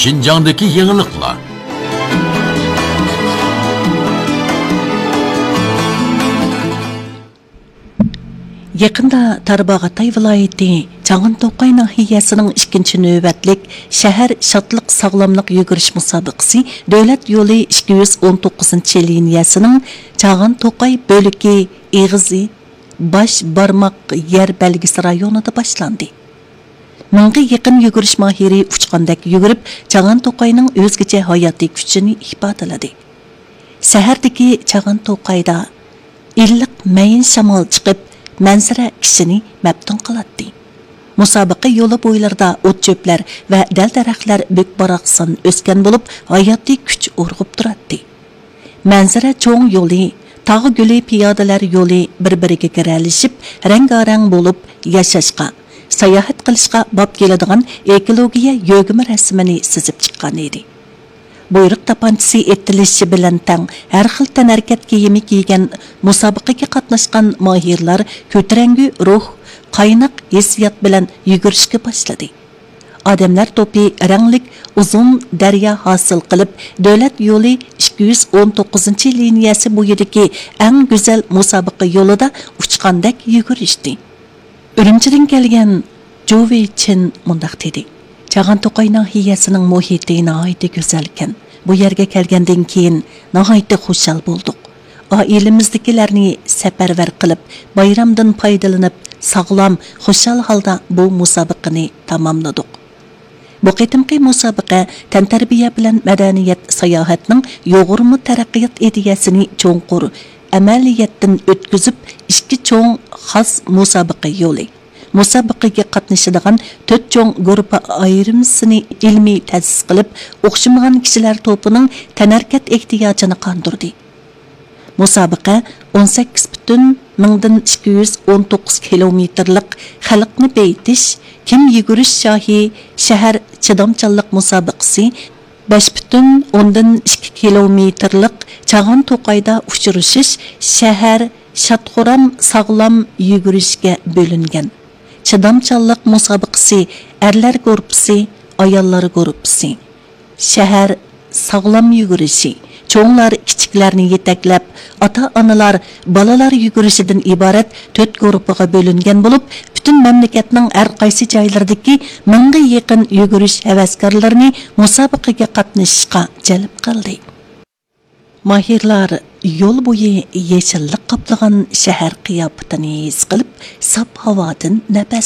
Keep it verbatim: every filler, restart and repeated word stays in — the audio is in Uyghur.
شىنجاڭدىكى يېڭىلىقلار. يېقىندا تارباغاتاي ۋىلايىتى چاغان توقاي ناھىيەسىنىڭ ئىككىنچى نۆۋەتلىك شەھەر شادلىق ساغلاملىق يۈگۈرۈش مۇسابىقىسى دۆلەت يولى ئىككى يۈز ئون توققۇزىنچى لىنىيەسىنىڭ چاغان توقاي بۆلىكى ئېغىزى باش بارماق يەر بەلگىسى رايونىدا باشلاندى. مىڭغا يېقىن يۈگۈرۈش ماھىرى ئۇچقاندەك يۈگۈرۈپ، چاغان توقاينىڭ ئۆزگىچە ھاياتىي كۈچىنى ئىپادىلىدى. سەھەردىكى چاغان توقايدا ئىللىق مەيىن شامال چىقىپ، مەنزىرە كىشىنى مەپتۇن قىلاتتى. مۇسابىقە يولى بويلىرىدا ئوت-چۆپلەر ۋە دەل-دەرەخلەر بۈك-باراقسان ئۆسكەن بولۇپ، ھاياتىي كۈچ ئۇرغۇپ تۇراتتى. مەنزىرە چوڭ يولى، تاغ گۈلى پىيادىلەر يولى بىر-بىرىگە گىرەلىشىپ، رەڭگارەڭ بولۇپ، ياشاشقا، ساياھەت قىلىشقا باب كېلىدىغان ئېكولوگىيە يۆگىمە رەسىمىنى سىزىپ چىققان ئىدى. بۇيرۇق تاپانچىسى ئېتىلىشى بىلەن تەڭ، ھەر خىل تەنھەرىكەت كىيىمى كىيگەن مۇسابىقىگە قاتناشقان ماھىرلار كۆتۈرەڭگۈ روھ، قايناق ھېسسىيات بىلەن يۈگۈرۈشكە باشلىدى. ئادەملەر توپى رەڭلىك ئۇزۇن دەريا ھاسىل قىلىپ، دۆلەت يولى ئىككى يۈز ئون توققۇزىنچى لىنىيەسى بويىدىكى ئەڭ گۈزەل مۇسابىقە يولىدا ئۇچقاندەك يۈگۈرۈشتى. ئۈرۈمچىدىن كەلگەن جۇ ۋېيچىن مۇنداق دېدى: «چاغان توقاي ناھىيەسىنىڭ مۇھىتى ناھايىتى گۈزەلكەن. بۇ يەرگە كەلگەندىن كېيىن ناھايىتى خۇشال بولدۇق. ئائىلىمىزدىكىلەرنى سەپەرۋەر قىلىپ، بايرامدىن پايدىلىنىپ، ساغلام، خۇشال ھالدا بۇ مۇسابىقىنى تاماملىدۇق.» بۇ قېتىمقى مۇسابىقە تەنتەربىيە بىلەن مەدەنىيەت ساياھەتنىڭ يۇغۇرما تەرەققىيات ئىدىيەسىنى چوڭقۇر ئەمەلىيەتتىن ئۆتكۈزۈپ، ئىككى چوڭ خاس مۇسابىقە يولى، مۇسابىقىگە قاتنىشىدىغان تۆت چوڭ گۇرۇپپا ئايرىمىسىنى ئىلمىي تەسىس قىلىپ، ئوخشىمىغان كىشىلەر توپىنىڭ تەنھەرىكەت ئېھتىياجىنى قاندۇردى. مۇسابىقە ئون سەككىز پۈتۈن مىڭدىن ئىككى يۈز ئون توققۇز كىلومېتىرلىق خەلقنى بېيىتىش، كىم يۈگۈرۈش شاھى شەھەر چىدامچانلىق مۇسابىقىسى، بەش پۈتۈن ئوندىن ئىككى كىلومېتىرلىق چاغان توقايدا ئۇچرىشىش شەھەر شاد-خۇرام ساغلام يۈگۈرۈشكە بۆلۈنگەن. چىدامچانلىق مۇسابىقىسى ئەرلەر گۇرۇپپىسى، ئاياللار گۇرۇپپىسى. شەھەر ساغلام يۈگۈرۈشى، چوڭلار كىچىكلەرنى يېتەكلەپ، ئاتا-ئانىلار بالىلار يۈگۈرۈشىدىن ئىبارەت تۆت گۇرۇپپىغا بۆلۈنگەن بولۇپ، پۈتۈن مەملىكەتنىڭ ھەر قايسى جايلىرىدىكى مىڭغا يېقىن يۈگۈرۈش ھەۋەسكارلىرىنى مۇسابىقىگە قاتنىشىشقا جەلپ قىلدى. ماھىرلار يول بويى يېشىللىق قاپلىغان شەھەر قىياپىتىنى ھېس قىلىپ، ساپ ھاۋادىن نەپەس